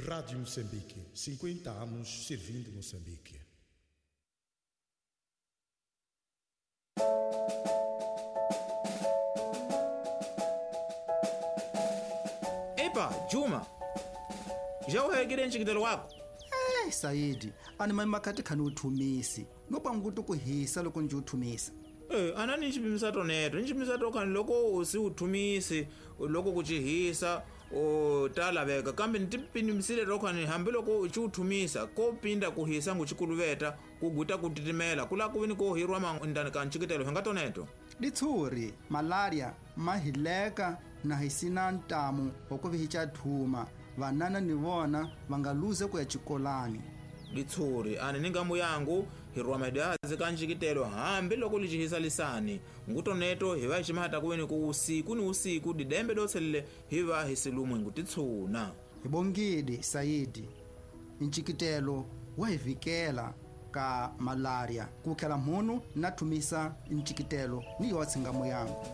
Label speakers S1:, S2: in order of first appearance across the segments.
S1: Rádio Moçambique, 50 anos servindo Moçambique.
S2: Epa, Juma, já uhegile ncikitelo wako?
S3: Eh, Saidi, ani mani makhati khani uthumisi. No panguti ku hisa loko nje uthumisa.
S2: Anani ncipimisa toneto, ncipimisa tokani loko usi uthumisi, loko kucihisa, ta laveka kambe ntipimisile tokhani hambi loko uci uthumisa ko pinda kuhisa ngucikuluveta kuguta kutitimela kula kuvini ko hirwa mandani ka ncikitelo hinga toneto.
S3: Ditshuri, malaria, mahileka na hisina ntamu wa ku vihica thuma. Vanana ni vona va nga luze ku ya xikolani.
S2: Ditshuri ani ni ngambu yangu hirwa madazi ka ncikitelo hambi loko licihisa lisani ngutoneto hi va ximata kuveni ku usiku ni usiku didembe dotselele hi va hi silumwe ngutitshuna.
S3: Hi bongile Saidi, ncikitelo wa hi vikela ka malaria ku tlhela munhu na thumisa ncikitelo ni yo tshingamu yangu.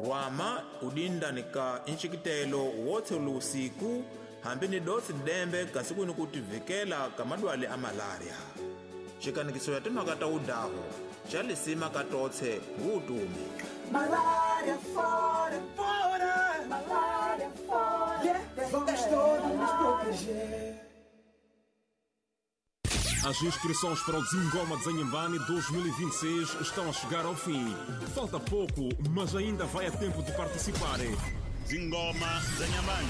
S2: Rwama udindani ka ncikitelo wotse usiku hambi ni dotsi dembe kasi kuni kutivikela ka madwale a malaria. Xikanikiso ya timhaka ta udaho xa lisima ka totse ngutumi.
S4: Malaria fora, fora, malaria fora. Yeah, vamos todos nos proteger.
S5: As inscrições para o Zingoma de Inhambane 2026 estão a chegar ao fim. Falta pouco, mas ainda vai a tempo de participar.
S6: Zingoma de Inhambane.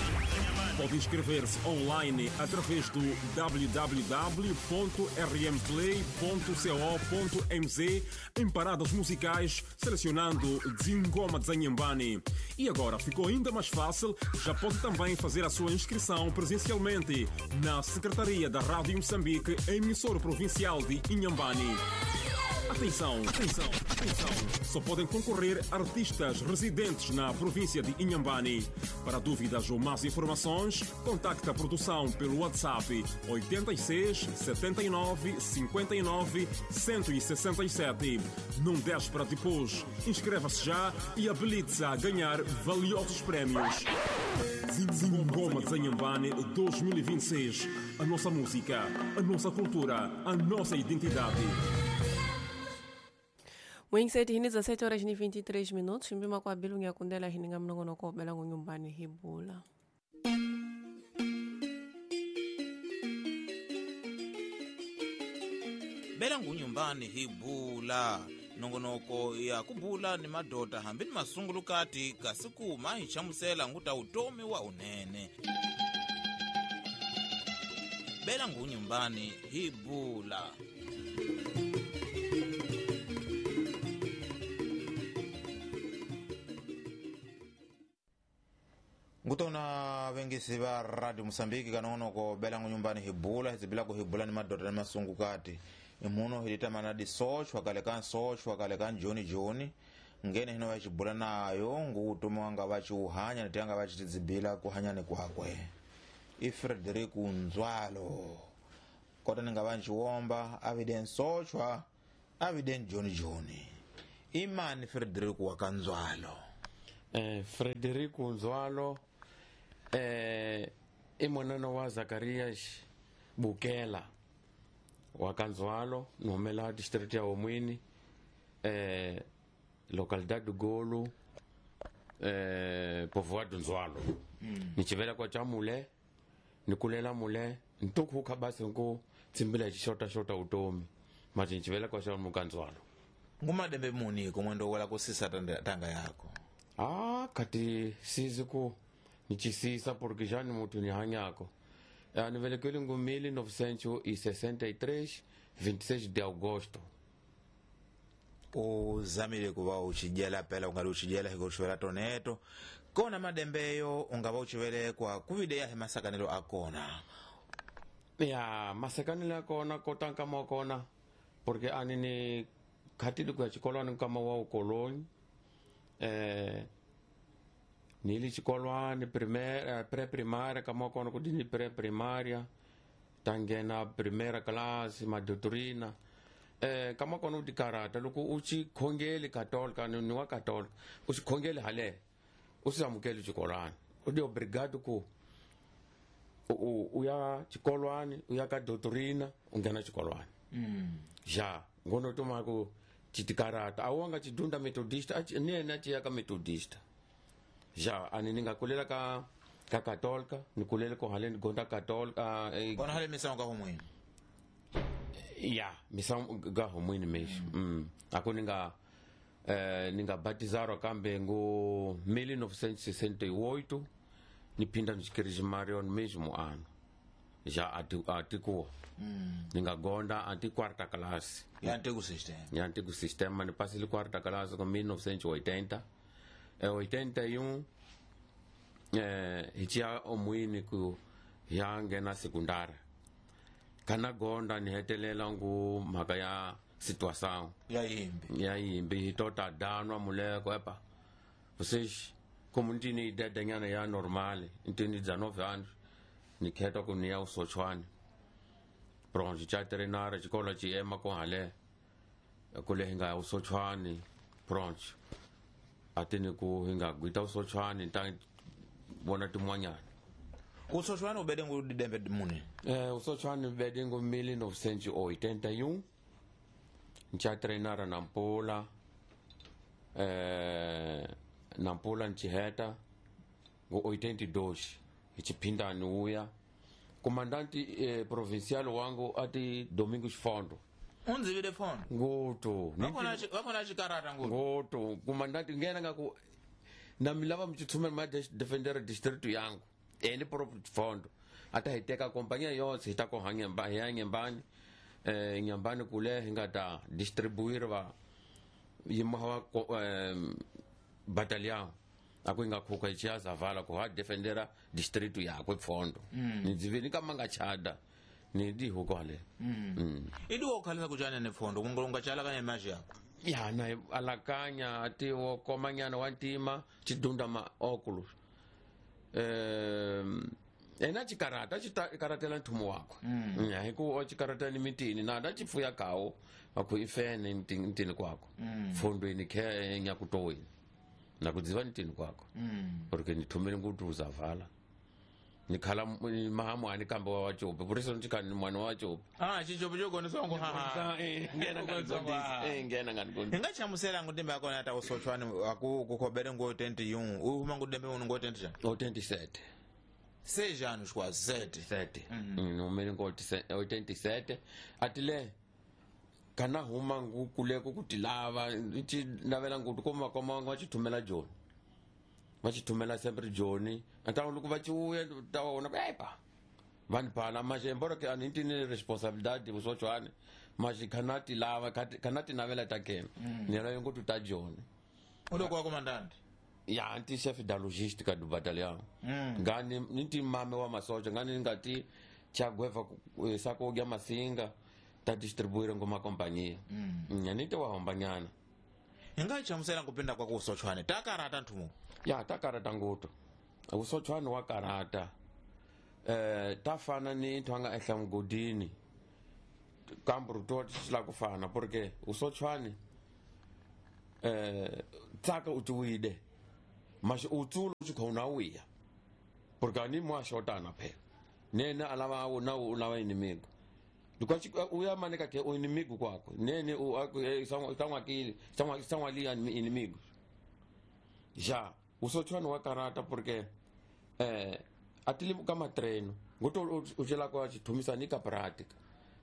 S5: Pode inscrever-se online através do www.rmplay.co.mz em paradas musicais, selecionando Zingoma de Inhambane. E agora ficou ainda mais fácil, já pode também fazer a sua inscrição presencialmente na Secretaria da Rádio Moçambique, emissora provincial de Inhambane. Atenção, atenção, atenção! Só podem concorrer artistas residentes na província de Inhambane. Para dúvidas ou mais informações, contacte a produção pelo WhatsApp 86 79 59 167. Não deixe para depois. Inscreva-se já e habilite-se a ganhar valiosos prémios. Zingoma de Inhambane 2026. A nossa música, a nossa cultura, a nossa identidade.
S7: Mwengiseti hini za 7 horas ni 23 minutos mpima kwa bilu ngiyakundela hini ngamnongono bela ngunyumbani hibula.
S2: Bela ngunyumbani hibula nongonoko ya kubula ni madota hambi ni masungulukati kasi kuma hi chamusela nguta utomi wa unene. Bela ngunyumbani hibula. Ngutona vengisi va Radio Mosambiki kanonoko bela ngunyumbani hibula hizibila kuhibula ni madota ni masungukati imuno hilitamana disochwa kale kan sochwa kale kan joni joni ngene hino vachibula nayo ngutuma wanga vachiuhanya nitanga vachitizibila kuhanyani kwakwe i Frederico Nzwalo kota ninga vanchiwomba avide nsochwa avide joni joni imani Frederico wakanzwalo.
S8: Frederico Nzwalo i monana wa Zacarias Bukela wa Kanzwalo ni humela district ya Homwini, localidade do Golo, povoado Nzwalo. Ni chivela kwa cha mule ni kulela mule ntukhuka basi nku tsimbila xixota xota utomi mati ni chivela kwa cha mukanzwalo.
S2: Ngumadembe muni kumwendo wala kusisa tanga yako?
S8: Ah, kati sizi ku nichisisa porque já ni mutu ni hanyako. Ni velekele ngu 1963 26 de agosto.
S2: Uzamile kuva uchijela pela ungali uchijela hiko uchivela toneto kona madembeyo ungava uchivelekwa kuvideya he masakanelo akona.
S8: Ya masakanelo akona kotanka mwakona porque ani ni khatili kuya chikolwani kama wa ukoloni. Nili chikolwani pré-primária kama kona kudini pré-primária tangena primeira classe madotrina kama kona udikarata loko uchi khongeli katolika ni wa katolika uchi khongeli hale U si amukeli xikolwana u di obrigado ku u ya xikolwani u ya ka doutrina u nghena xikolwani ja ngono tuma ku chitikarata a wanga chidunda metodista ni yena ci ya ka metodista ja ani ni nga kulela ka katolika ni kulele ko haleni gonda katolika
S2: kona hale misango ka humwini
S8: ya misango ka humwini mesho ako ni nga ni nga batizarwa kambe ngo 1968 ni phinda ni xikirijimarion mesmo ano já atikuwa ni nga gonda anti quarta classe
S2: ya antigo sistema
S8: ya antigo sistema ni pasile quarta classe com 1980 81 hi omwini ku ya nghena sekundari kana gonda ni hetelela ngu mhaka ya situação ya yimbi hi tota danwa muleko epa vocês como ntini idedenyana ya normal ntini 19 anos ni kheta ku ni ya usochwani bronze cha treinara xikolo xi ema ko hale kule hi nga ya usochwani bronze atini ku hi nga gwita usochwani ta vona tin'wanyana
S2: usochwani u bede ngu didembe muni
S8: usochwani bede ngu 1981 ncha treinara Nampula Nampula nchiheta ngu 82 hi chiphindani uya comandante provincial wangu ati Domingos Fondo
S2: unzivile Fondo
S8: ngoto
S2: vakona xikarata ngoto
S8: ngoto comandante ngena nga ku na mi lava mi tshumela ma defender district yangu ene Fondo ata hi teka kompanya yotse hi ta ko hanyamba hi ya nyambani nyambani kule hi nga ta distribuir va yimawa batalhão ako nga khuka chia zavala ko ha defendera distrito yakwe Fondo ni dzivini ka manga chada ni di hukole
S2: idi wo khalisa kuchana ne Fondo kungolonga chala kanya maji yako
S8: ya na alakanya ati wo komanyana wa ntima chidunda ma oculus ena chikarata chikaratela nthumo wakwe ya hiku o chikarata ni mitini na da chifuya kawo akho ifene ntini kwakho Fondweni khe nyakutoweni na kudziva ntini kwakho porque ni thumele ngutu uzavala ni khala mahamwani kambe wa wachope por isso nchikani mwana wa wachope
S2: chichope chogoni songo ha
S8: ngena ngani ngena ngani
S2: nga chamusela ngudembe akona ata usochwani aku kukhobere ngo 21 uhuma ngudembe uno ngo 20 ja
S8: 87
S2: 6 anos quase 7
S8: 7 numero ngo 87 atile kana huma ngukuleko kuti lava ichi navela ngutu koma koma va chithumela joni va chithumela sempre joni ata loko va chiuya ta vona epa vanhu phala maxe embora ke ani ntini responsabilidade vusochwani maxe kana ti lava kana ti navela ta kena ni la ngutu ta joni
S2: uloko wa comandante
S8: ya anti chef da logística do batalhão ngani nti mame wa masoja ngani ngati chagweva sako gya masinga ta distribuir ngoma kompanyia nyanite wa hombanyana
S2: inga chamusela kupinda kwa kusochwane takarata nthumo
S8: ya takarata nguto usochwane wa karata tafana ni nthu anga ehla mgodini kambru to tshila kufana porque usochwane tsaka utiwide mas utsulo chikhona uya porque ani mwa shotana phela nene alava na u inimigo because uya maneka ke o inimigo kwakho nene o sangwakile sangwali inimigo ja usochwana wa karata porque atili kama treino ngoto uchela kwa chithumisa ni ka prática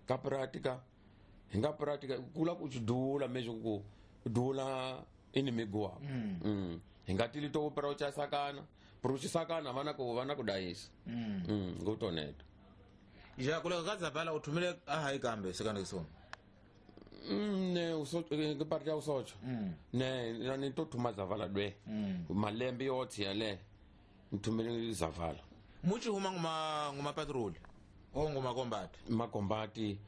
S8: ka prática hinga prática kula kuchidula mesho ku dula inimigo wako hinga tili to opera uchasakana prochisakana vana ku vana kudayisa ngotoneta
S2: ja kule kazavala uthumile ahayi kambe sekandisona
S8: ne uso ngiparti ya usocho ne ni to thuma zavala dwe malembe yotsi yale nithumele zavala
S2: muchi huma nguma patrol o nguma combat
S8: makombati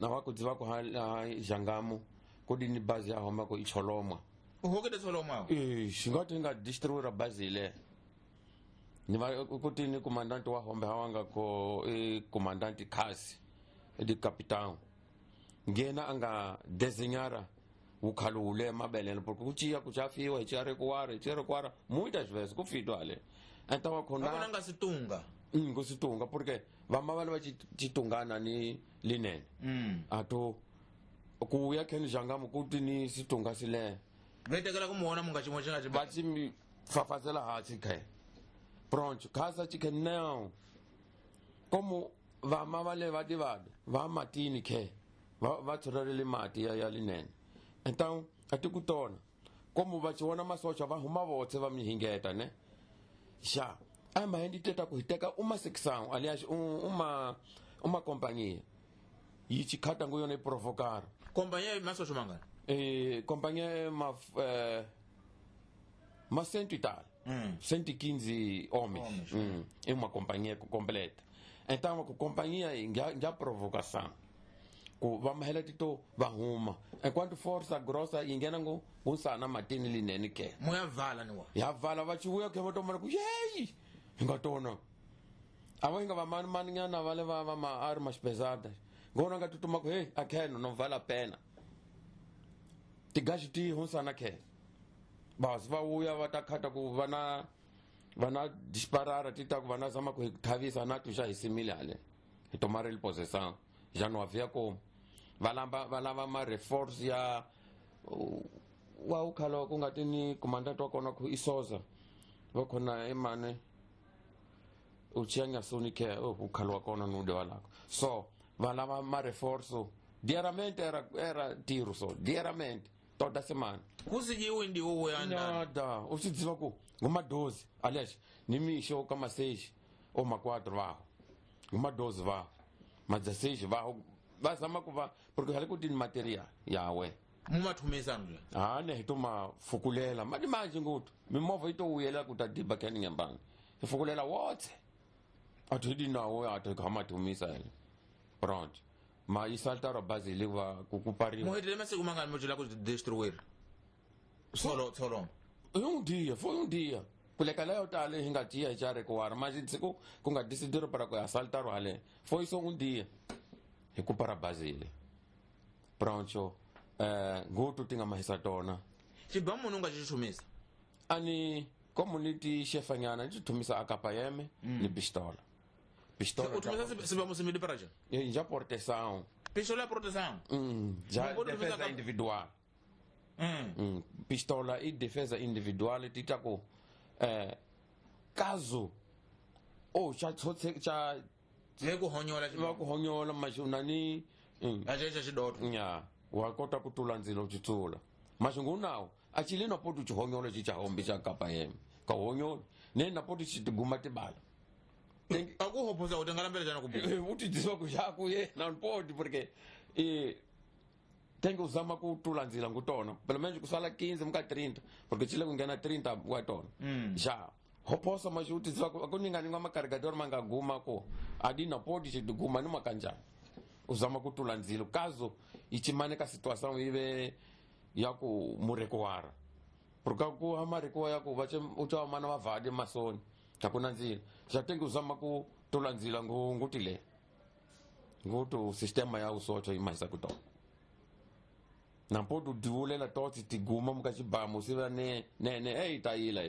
S8: na wakudziva ku ha jangamu kudini bazi ya homa ko icholomwa
S2: uhokede cholomwa
S8: xingati nga distribuira bazi ile ni va kuti ni comandante wa hombe hawanga ko comandante kasi di capitão ngena anga desenhara Wu khalo wu le mabelele porque ku ciya ku chafiwa hi ciya rekuwara hi ciya rekuwara muitas vezes ku fitwa ale então
S2: Akuna
S8: akhona
S2: nga situnga.
S8: Ku situnga porque vama vale va chitungana ni linene ato ku ya kheni jangamu kuti ni situnga sile
S2: Vetekela kumuona munga chimwe chinga
S8: va ci fafazela hansi khe pronto khasa chikhe não como vama vale va divada va matini khe va tshorelele mati ya linene então ati ku tona como va chiona masocha va huma votse va mi hingeta ne já a ma ndi teta ku hiteka uma secção aliás uma companhia yi chikhata ngo yona provocar
S2: Companhia masocho mangana.
S8: Companhia ma cento e tal. 115 homens. É uma companhia completa. Então a companhia já provocação. Ku va mahela tito va huma. Enquanto força grossa ingena ngo unsana matini linene ke.
S2: Muya vala niwa.
S8: Ya vala va chivuya ke va tomana ku yeyi. Hinga tona. Avo hinga va mani mani nyana vale va va ma armas pesadas. Ngona nga tutuma ku hey akheno não vale a pena. Tigaji ti hunsana ke. Bas va uya va ta khata ku vana vana disparara ti ta ku vana zama ku thavisa na tuxa hi simile ale. Hi tomar ele possessão. Já não havia como. Va lamba va lava ma reforce ya wa ukhala ku nga ti ni comandante wa kona ku isoza. Va khona emane uchianya soni ke ukhala wa kona nude walako. So va lava ma reforço diariamente era tiro só diariamente toda semana.
S2: Kusijiwe ndi uwe anda.
S8: Nada, u swi tiva ku nguma 12, aliás, ni mixo ka ma 6 ou ma 4 vaho. Nguma 12 vaho. Ma 16 vaho. Va zama ku va porque hale ku tini material yawe.
S2: Mumathumisa ndla.
S8: Ah ne hi to ma fukulela mali manje ngutu. Mimovha yi to wuyela ku ta diba kani nyambani. Hi fukulela wotse. Athu di nawo athu ka mathumisa ene. Pronto. Ma yi saltara bazili va ku kupariwa.
S2: Muhetele masiku mangani mujula ku destruir. Solo solo.
S8: Um dia, foi um dia. Kuleka leyo tale hinga tia hi chare kuwara mas siku ku nga decidiro para ku assaltar ale. Foi só um dia. Hi ku para Basile. Pronto. Ngutu tinga mahisa tona.
S2: Xibamu munhu nga xi chumisa.
S8: Ani community chefanyana xi thumisa akapayeme ni pistola. Pistola.
S2: U thumisa sibamu simili para ja.
S8: Já proteção.
S2: Pistola proteção.
S8: Já defesa individual. Pistola e defesa individual ti ta ku caso ou cha cha
S2: le ku honyola
S8: va ku honyola mashuna ni
S2: a xa xidoto
S8: nya wa kota ku tula ndzilo chitsula maxingu nawo a chile na poto chihonyola chi cha hombi cha kapa yeme ka honyola ne na poto chi tiguma tibala
S2: a ku hoposa u tengala mbele jana ku
S8: u ti dziswa ku xa ku yena mpoti porque tem que usar uma cultura nzila ngutona pelo menos kusala 15 muka 30 porque chile kungena 30 watona já hoposa mas u ti dziswa ku ninga ninga macarregador mangaguma ko adina podi chi tiguma numa kanjani uzama kutula ndzilo caso ichimaneka situação ive ya ku murekuwara porque ku amarekuwa ya ku vache ucha mana vavade masoni takuna ndzilo já tem que uzama kutula ndzila ngutile ngutu sistema ya usocho imaisa kutona nampo tu divulela totsi tiguma muka xibamu siva ne ne ne hey tayila.